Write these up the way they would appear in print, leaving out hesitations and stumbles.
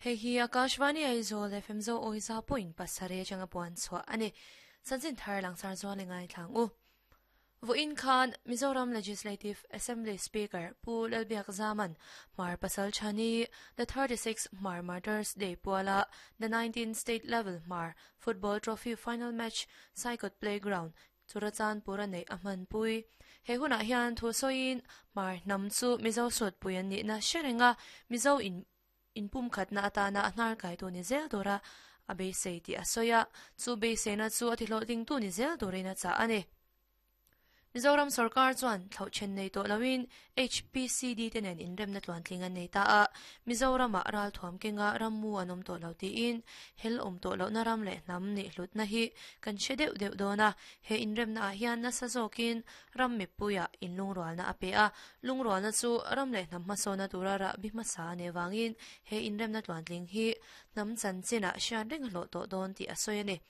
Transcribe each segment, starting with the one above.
Hei hi Akashvani Aizawl FM Zo Awiza point pasarih atanga puan chhuah a ni. Chanchin thar langsar zual i ngaithlang u. Vawiin khan Mizoram Legislative Assembly Speaker Pu Lalbiak Zaman Hmar Pasal Chhani The 36 Hmar Martyrs Day puala The 19 State Level Hmar Football Trophy Final Match Saikawt Playground Churachandpur a neih a hmanpui. He hunah hian thu sawiin Hmar hnam chu Mizo sutpui an nihna hre reng a, Mizo in inpumkhatna atana a hnar kaitu ni zel tura a beisei tih a sawi a, chu beiseina chu a tihlawhtlingtu ni zel turin a chah a ni. Mizoram sorkar chuan thlauh then nei tawh loin HPCD te nen inremna tluantling an nei ta a, Mizoramah ralthuam kenga rammu an awm tawh lo tiin hel awm tawh lohna ram leh hnam nih hlutna hi kan hre deuh deuh dawn a, he inremnaah hian nasa zawkin ram mipuiah inlungrualna a pe a, lungrualna chu ram leh hnam hmasawna tura rahbi hmasa a nih avangin he inremna tluantling hi hnam chanchinah hriat reng a hlawh tawh dawn tih a sawi a ni.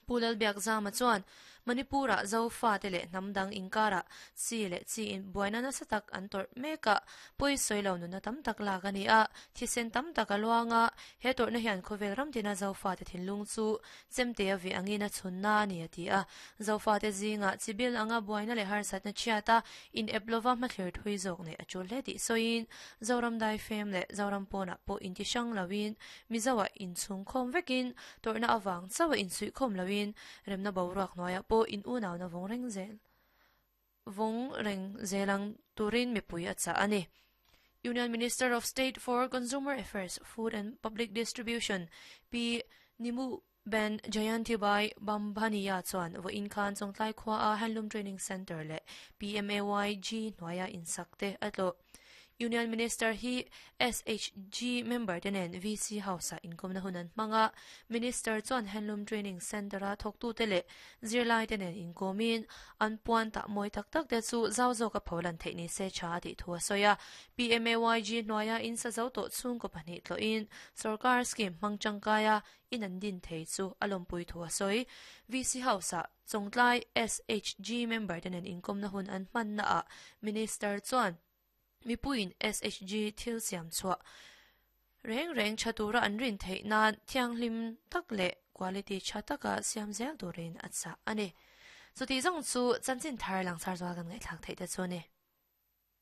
Pu Lalbiakzama chuan Manipur-ah Zofate leh hnam dang inkarah chi leh chi in buaina nasa tak an tawrh mek a, pawi sawi lo nunna tam tak lak a ni a, thisen tam tak a luang a, he tawrhna hian khawvel ram tina Zofate thinlung chu chemte a vih angin a chhunna a ni a ti a. Zofate zingah chi bil anga buaina leh harsatna chhiat a, in ep lova hmathlir thui zawk neih a tul hle tih sawiin Zoram daifem leh Zoram pawnah pawh inti hrang loin Mizoah inchhung khawm vekin tawrhna avang chauh a insuih khawm loin remna boruak hnuaiah pawh in unauna vawng reng zel vawng reng zel ang turin mipui a chah a ni. Union Minister of State for Consumer Affairs, Food and Public Distribution Pi Nimu Ben Jayantibai Bambhaniya chuan vawiin khan Chawngtlai khuaa Handloom Training Centre leh PMAYG hnuaia insak te a tlawh. Union Minister hi SHG member te nen VC House-ah inkawmna hun an hmang a, Minister chuan Handloom Training Centre-a thawktute leh zirlaite nen inkawmin an puan tah mawi tak tak te chu zau zawka pholan theih ni se tha a tih thu a sawi a. PMAYG hnuaia in sa zo tawh chhungkaw pahnih tlawhin sorkar scheme hmang tangkaia in an din thei chu a lawmpui thu a sawi. VC House-ah Chawngtlai SHG member te nen inkawmna hun an hmannaah Minister chuan mipuiin SHG thil siam chhuah reng reng tha tura an rin theih nan thianghlim tak leh quality tha taka siam zel turin a chah a ni. Chutih zawng chu chanchin thar langsar zual kan ngaihthlak theih te chu a ni.